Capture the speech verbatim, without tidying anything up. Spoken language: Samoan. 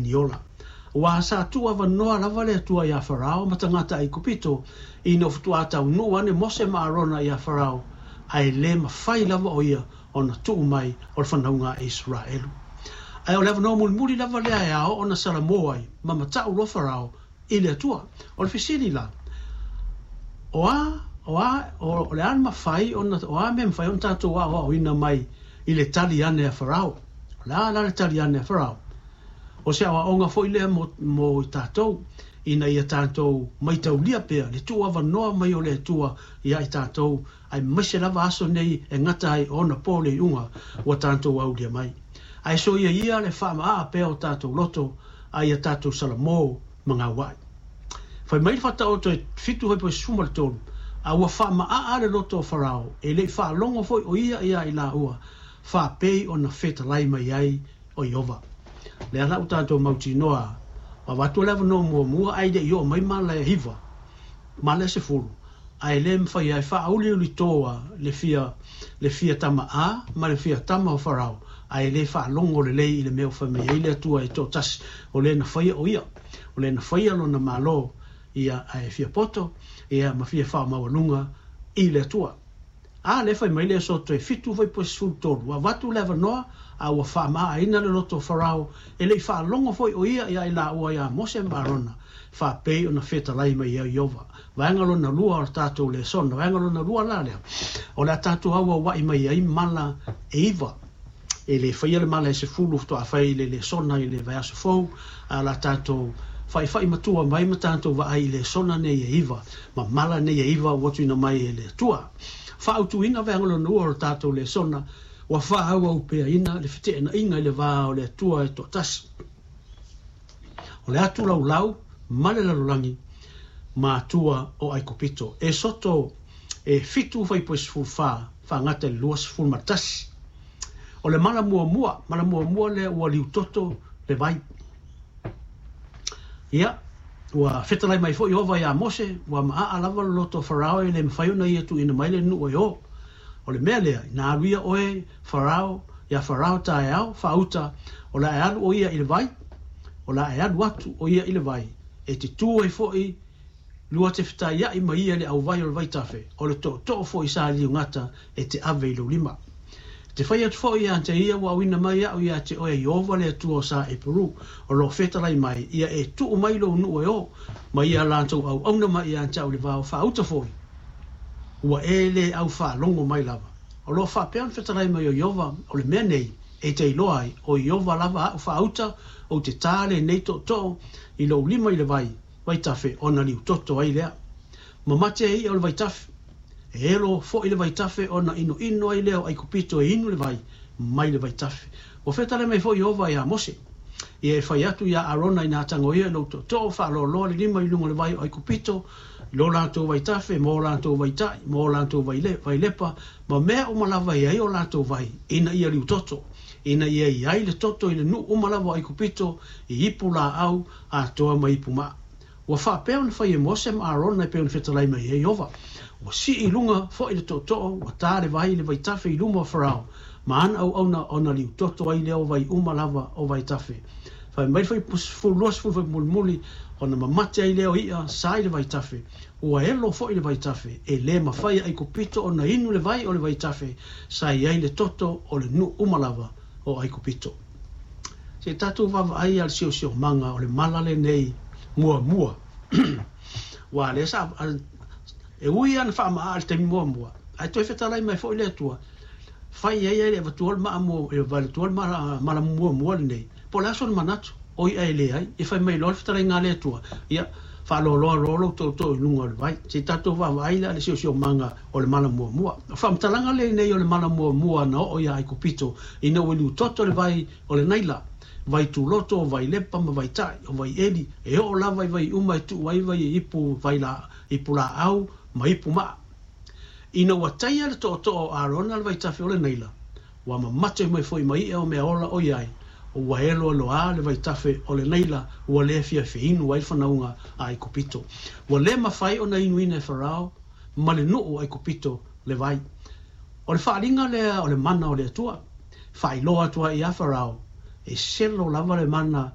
Niola. Ua sa tuu avanoa lava le Atua iā Farao ma tagata Aikupito ina ua faatoā taunuu ane Mose ma Arona iā Farao, ae lē mafai lava o ia ona tuu mai o le fanauga a Iseraelu. Ae o le avanoa mulimuli lava lea e ao ona salamo ai ma mata'u loa Farao i le Atua. O le fesili la, o a o a o le a mafai ona o a mea mafai ona tatou aoaoina mai i le tali ane a Farao? O le a la le tali ane a Farao? O se aoaoga foi lea mo, mo i tatou, ina ia tatou maitaulia pea le tuuavanoa mai o le Atua ia i tatou, aemaise lava aso nei e gata ai ona po le iuga ua tatou aulia mai. Ae soia ia le faamaa pea o tatou loto, a ia tatou salamo ma gauai. Fai mai le Faataoto e fitu hoi po sefulu ma le tolu, a ua faamaa le loto o Farao, e lei faalogo foi o ia ia i laua, faapei ona fetalai mai ai o Ieova. Lea la ua tatou mautinoa, ua avatu le avanoa muamua ae le i oo mai mala e hiva, mala e sefulu, ae le mafai ai faauliulitoa le fia, le fia tama a ma le fia tama o Farao, ae le faalogo lelei i le mea ua fai mai ai le Atua e toatasi, o le na faia o ia, o le na faia lona malo, ia ae fia poto, ia ma fia faamaualuga i le Atua. A le fai mai le Esoto e fitu foi po sefulu tolu, ua avatu le avanoa, a ua faamaaina le loto o Farao, e lei faalogo foi o ia ia i laua ia Mose ma Arona, faapei ona fetalai mai ai Ieova. Vaega lona lua o le tatou lesona, vaega lona lua la lea, o le a tatou auauai mai ai mala e iva. E le faia le mala e sefulu faatoa fai le lesona i le vaiaso fou, a la tatou faifai matua mai ma tatou vaai i lesona nei e iva, ma mala nei e iva ua tuuina mai e le Atua. Faautuina vaega lona lua o le tatou lesona, ua faaauaupeaina le feteenaiga i le va o le Atua e toatasi. O le atu laulau ma le lalolagi ma atua o Aikupito. Esoto e fitu fuaiupu e sefulu fa, faagata i le lua sefulu ma tasi. O le mala muamua, mala muamua lea ua liutoto le vai. Ia, ua fetalai mai foi Ieova iā Mose, ua maaa lava le loto o Farao e le mafai ona ia tuuina mai le nuu e o. O le mea lea, ina alu ia oe Farao, iā Farao taeao, faauta, o le a e alu o ia i le vai, o le a e alu atu o ia i le vai, e te tu ai foi lua te fetaiai ma ia i le auvai o le vaitafe, o le tootoo foi sa liugata e te ave i lou lima. E te fai atu foi ia te ia ua auina mai au ia te oe Ieova le Atua o sa Eperu, o loo fetalai mai, ia e tuu mai lou nuu e o, ma ia latou auauna mai ia te au le vao faauta foi, ua e le au faalogo mai lava. O loo faapea ona fetalai mai o Ieova, o le mea nei e te iloa ai, o Ieova lava au faauta, ou te tā lenei tootoo i lou lima i le vai, vaitafe, ona liutoto ai lea. Mamate ai ia o le vaitafe, e elo foi le vaitafe ona inoino ai lea o Aikupito e inu le vai mai le vaitafe. Ua fetalai mai foi Ieova iā Mose, ia e fai atu iā Arona ina tagoia i lou tootoo faaloaloa le lima i luga o le vai o Aikupito, i lo latou vaitafe, ma o latou vaitai, ma o latou vailepa, ma mea uma lava e ai o latou vai, ina ia liutoto, ina ia i ai le toto i le nuu uma lava o Aikupito, i ipu laau atoa ma ipu maa. Ua faapea ona fai e Mose ma Arona e pei ona fetalai mai ai Ieova. Ua sii i luga foi le tootoo, ua tā le vai i le vaitafe i luma o Farao, ma ana auauna ona liutoto ai lea o vai uma lava o vaitafe. Fai mai le fuaiupu sefulu lua sefulu fuaiupu mulimuli, ona mamate ai lea o ia sa i le vaitafe. Ua elo foi le vaitafe, e le mafai e Aikupito ona inu le vai o le vaitafe, sa i ai le toto o le nuu uma lava o Aikupito. Se i tatou vaavaai a le siosiomaga o le mala lenei muamua. Ua lea sa e ui ana faamaa i le taimi muamua, ae toe fetalai mai foi le Atua, fai ai ai le avatua le maa mua, e avatua le mala, mala muamua lenei. Po o le a sona manatu, o ia e leai, e fai mai loa le fetalaiga a le Atua, ia faaloaloa loa lou tootoo i luga o le vai. Se i tatou vaavaai la le siosiomaga o le mala muamua. O faamatalaga lenei o le mala muamua na oo iā Aikupito, ina ua liutoto le vai o le Naila, vai tuloto, o vai lepa ma vai tai, o vai eli, e oo lava i vai uma e tuu ai vai e ipu vai la, ipu laau ma ipu maa. Ina ua taia le tootoo o Arona le vaitafe o le Naila, ua mamate mai foi ma ia o mea ola o iai, o ua eloeloa le vaitafe o le Naila, ua le fiafia inu ai le fanauga a Aikupito. Ua le mafai ona inuina e Farao ma le nuu o Aikupito le vai. O le faaaliga lea o le mana o le Atua, faailoa atu ai ia Farao, e selo lava le mana